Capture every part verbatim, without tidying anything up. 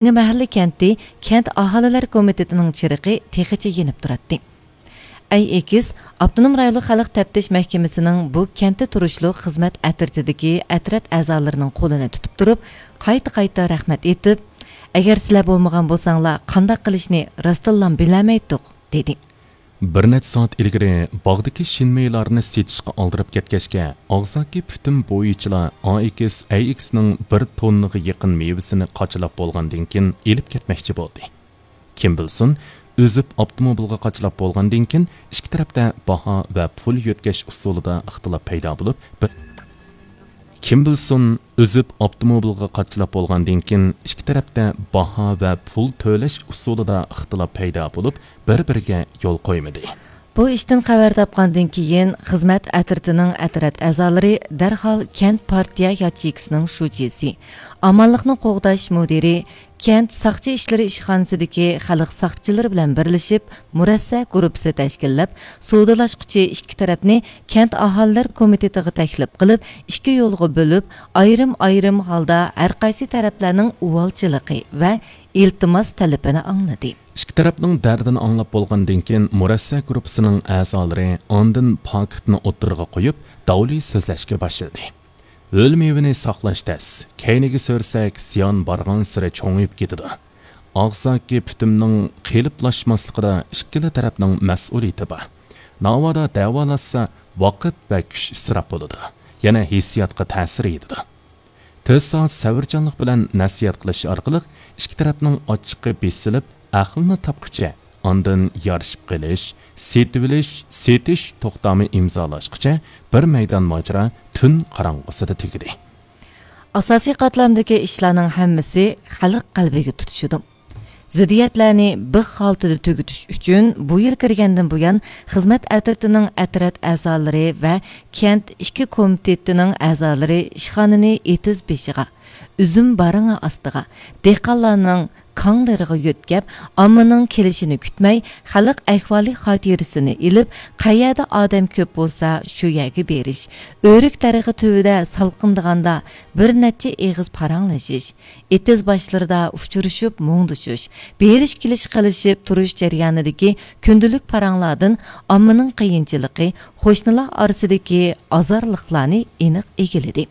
يېڭى مەھەللە كەنتى كەنت ئاھالىلەر كومىتېتىنىڭ چىرىقى تېخىچە يېنىپ تۇراتتى. ئەي ئېكىس ئاپتونوم رايونلۇق خەلق تەپتىش مەھكىمىسىنىڭ بۇ كەنتتە تۇرۇشلۇق خىزمەت ئەترىتىدىكى ئەترەت ئەزالىرىنىڭ قولىنى تۇتۇپ تۇرۇپ، قايتا-قايتا رەھمەت ئېيتىپ، «ئەگەر سىلەر بولمىغان بولساڭلار، قانداق قىلىشنى راستتىنلا بىلەلمەيتتۇق» دېدى. بىر نەچچە سائەت ئىلگىرى باغدىكى شىنمېيلارنى سېتىشقا ئالدىراپ كەتكەچكە، ئاغزاكى پۈتۈم بويىچىلار ئا ئېكىس ئەي ئېكىسنىڭ بىر توننىغا يېقىن مېۋىسىنى قاچىلاپ بولغاندىن كېيىن ئېلىپ كەتمەكچى بولدى. كىم بىلسۇن، ئۈزۈپ ئاپتوموبىلغا قاچىلاپ بولغاندىن كېيىن، ئىككى تەرەپتە باھا ۋە پۇل يۆتكەش ئۇسۇلىدا ئىختىلاپ پەيدا بولۇپ، بىر، كىم بىلسۇن، ئۈزۈپ ئاپتوموبىلغا قاچىلاپ بولغاندىن كېيىن، ئىككى تەرەپتە باھا ۋە پۇل تۆلەش ئۇسۇلىدا ئىختىلاپ پەيدا بولۇپ، بىر-بىرىگە يول قويمىدى. بۇ ئىشتىن خەۋەر تاپقاندىن كېيىن، خىزمەت ئەترىتىنىڭ ئەترەت ئەزالىرى دەرھال كەنت پارتىيە ياچېيكىسىنىڭ شۇجىسى، ئامانلىقنى قوغداش مۇدىرى، كەنت ساقچى ئىشلىرى ئىشخانىسىدىكى خەلق ساقچىلىرى بىلەن بىرلىشىپ، مۇرەسسە گۇرۇپپىسى تەشكىللەپ، سودىلاشقۇچى ئىككى تەرەپنى كەنت ئاھالىلەر كومىتېتىغا تەكلىپ قىلىپ، ئىككى يولغا بۆلۈپ، ئايرىم-ئايرىم ھالدا ھەرقايسى تەرەپلەرنىڭ ئۇۋالچىلىقى ۋە ئىلتىماس تەلىپىنى ئاڭلىدى. ئىككى تەرەپنىڭ دەردىنى ئاڭلاپ بولغاندىن كېيىن، مۇرەسسە گۇرۇپپىسىنىڭ ئەزالىرى ئاندىن پاكىتنى ئوتتۇرىغا قويۇپ، داۋلى سۆزلەشكە باشلىدى. ھۆل مېۋىنى ساقلاش تەس، كەينىگە سۆرىسەك، زىيان بارغانسېرى چوڭىيىپ كېتىدۇ. ئاغزاكى پۈتۈمنىڭ قېلىپلاشماسلىقىدا ئىككىلا تەرەپنىڭ مەسئۇلىيىتى بار. ناۋادا دەۋالاشسا، ۋاقىت ۋە كۈچ ئىسراپ بولىدۇ، يەنە ھېسسىياتقا تەسىر يېتىدۇ. تۆت سائەت سەۋرچانلىق بىلەن نەسىھەت قىلىش ئارقىلىق ئىككى تەرەپنىڭ ئاچچىقى بېسىلىپ، ئەقلىنى تاپقىچە، ئاندىن يارىشىپ قېلىش، سېتىۋېلىش، سېتىش توختامى ئىمزالاشقىچە بىر مەيدان ماجىرا تۈن قاراڭغۇسىدا تۈگىدى. ئاساسىي قاتلامدىكى ئىشلارنىڭ ھەممىسى خەلق قەلبىگە تۇتىشىدۇ. زىددىيەتلەرنى بىخ ھالىتىدە تۈگىتىش ئۈچۈن بۇ يىل كىرگەندىن بۇيان، خىزمەت ئەترىتىنىڭ ئەترەت ئەزالىرى ۋە كەنت ئىككى كومىتېتىنىڭ ئەزالىرى ئىشخانىنى ئېتىز بېشىغا، ئۈزۈم بارىڭى ئاستىغا، دېھقانلارنىڭ كاڭلىرىغا يۆتكەپ، ئاممىنىڭ كېلىشىنى كۈتمەي، خەلق ئەھۋالى خاتىرىسىنى ئېلىپ، قەيەردە ئادەم كۆپ بولسا، شۇ يەرگە بېرىش، ئۆرۈك دەرىخى تۈۋىدە سالقىندىغاندا بىر نەچچە ئېغىز پاراڭلىشىش، ئېتىز باشلىرىدا ئۇچرىشىپ مۇڭدىشىش، بېرىش-كېلىش قىلىشىپ تۇرۇش جەريانىدىكى كۈندىلىك پاراڭلاردىن ئاممىنىڭ قىيىنچىلىقى، قوشنىلار ئارىسىدىكى ئازارلىقلارنى ئېنىق ئىگىلىدى.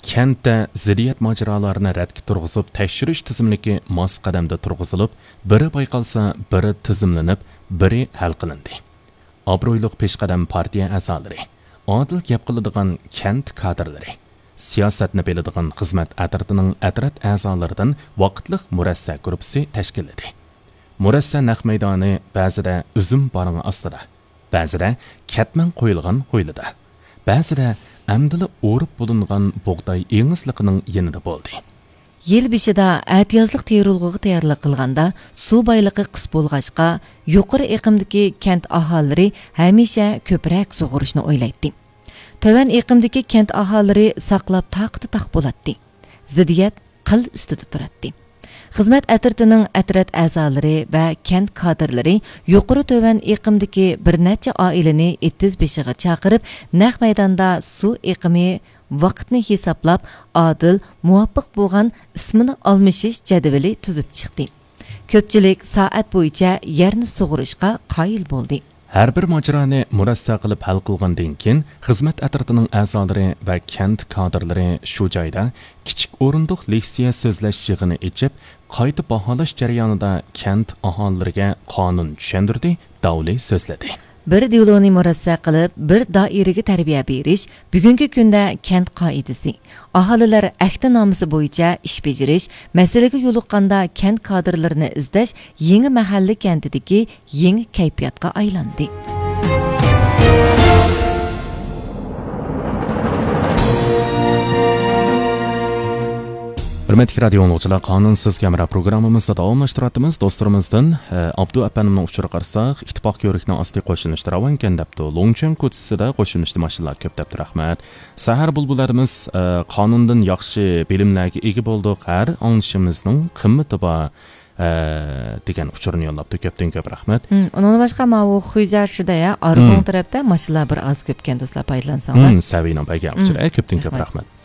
كەنتتە زىددىيەت ماجىرالارنى رەتكە تۇرغۇزۇپ تەكشۈرۈش تىزىملىكى ماس قەدەمدە تۇرغۇزۇلۇپ، بىرى بايقالسا، بىرى تىزىملىنىپ، بىرى ھەل قىلىندى. ئابرۇيلۇق پېشقەدەم پارتىيە ئەزالىرى، ئادىل گەپ قىلىدىغان كەنت كادىرلىرى، سىياسەتنى بىلىدىغان خىزمەت ئەترىتىنىڭ ئەترەت ئەزالىرىدىن ۋاقىتلىق مۇرەسسە گۇرۇپپىسى تەشكىللىدى. مۇرەسسە نەق مەيدانى بەزىدە ئۈزۈم بارىڭى ئاستىدا، بەزىدە كەتمەن قويۇلغان ھويلىدا، بەزىدە ئەمدىلا ئورۇپ بولۇنغان بۇغداي ئېڭىزلىقىنىڭ يېنىدا بولدى. يىل بېشىدا ئەتىيازلىق تېرىلغۇغا تەييارلىق قىلغاندا، سۇ بايلىقى قىس بولغاچقا، يۇقىرى ئېقىمدىكى كەنت ئاھالىلىرى ھەمىشە كۆپرەك سۇغۇرۇشنى ئويلايتتى. تۆۋەن ئېقىمدىكى كەنت ئاھالىلىرى ساقلاپ تاقىتى تاق بولاتتى. زىددىيەت قىل ئۈستىدە تۇراتتى. خىزمەت ئەترىتىنىڭ ئەترەت ئەزالىرى ۋە كەنت كادىرلىرى يۇقىرى تۆۋەن ئېقىمدىكى بىر نەچچە ئائىلىنى ئېتىز بېشىغا چاقىرىپ، نەق مەيداندا سۇ ئېقىمى ۋاقىتنى ھېسابلاپ، ئادىل، مۇۋاپىق بولغان ئىسمىنى ئالمىشىش جەدۋىلى تۈزۈپ چىقتى. كۆپچىلىك سائەت بويىچە يەرنى سۇغۇرۇشقا قايىل بولدى. ھەر بىر ماجىرانى مۇرەسسە قىلىپ ھەل قىلغاندىن كېيىن، خىزمەت ئەترىتىنىڭ ئەزالىرى ۋە كەنت كادىرلىرى شۇ جايدا كىچىك ئورۇندۇق لېكسىيە سۆزلەش يىغىنى ئېچىپ، قايتا باھالاش جەريانىدا كەنت ئاھالىلىرىگە قانۇن چۈشەندۈردى، داۋلى سۆزلىدى. بىر دېلونى مۇرەسسە قىلىپ، بىر دائىرىگە تەربىيە بېرىش بۈگۈنكى كۈندە كەنت قائىدىسى. ئاھالىلەر ئەھدىنامىسى بويىچە ئىش بېجىرىش، مەسىلىگە يولۇققاندا كەنت كادىرلىرىنى ئىزدەش يېڭى مەھەللە كەنتىدىكى يېڭى كەيپىياتقا ئايلاندى. ھۆرمەتلىك رادىيو ئاڭلىغۇچىلار، قانۇنسىز ھەمراھ پروگراممىمىزنى داۋاملاشتۇرۇۋاتىمىز. دوستلىرىمىزدىن، ئە، ئابدۇ ئەپەندىمنىڭ ئۇچۇرىغا قارىساق، ئىتتىپاق كۆۋرۈكنىڭ ئاستى قوشۇنۇشتا راۋانكەن دەپتۇ. لوڭچۈەن كوچىسىدا قوشۇنۇشتا ماشىنىلار كۆپ دەپتۇ. رەھمەت. سەھەر بۇلبۇللىرىمىز، ئە، قانۇندىن ياخشى بىلىملەرگە ئىگە بولدۇق. ھەر ئاڭلىشىمىزنىڭ قىممىتى بار، ئە، دېگەن ئۇچۇرنى يوللاپتۇ. كۆپتىن كۆپ رەھمەت. ھىم، ئۇنىڭدىن باشقا ماۋۇ خۇيجارشىدا يا، ئارغۇن ھىم. تەرەپتە ماشىنىلار بىر ئاز كۆپكەن، دوستلار، پايدىلانساڭلار. ھىم، سەۋىينىڭ بەگە ھىم. ئۇچۇرى. ئە، كۆپتىن كۆپ رەھمەت. رەھمەت.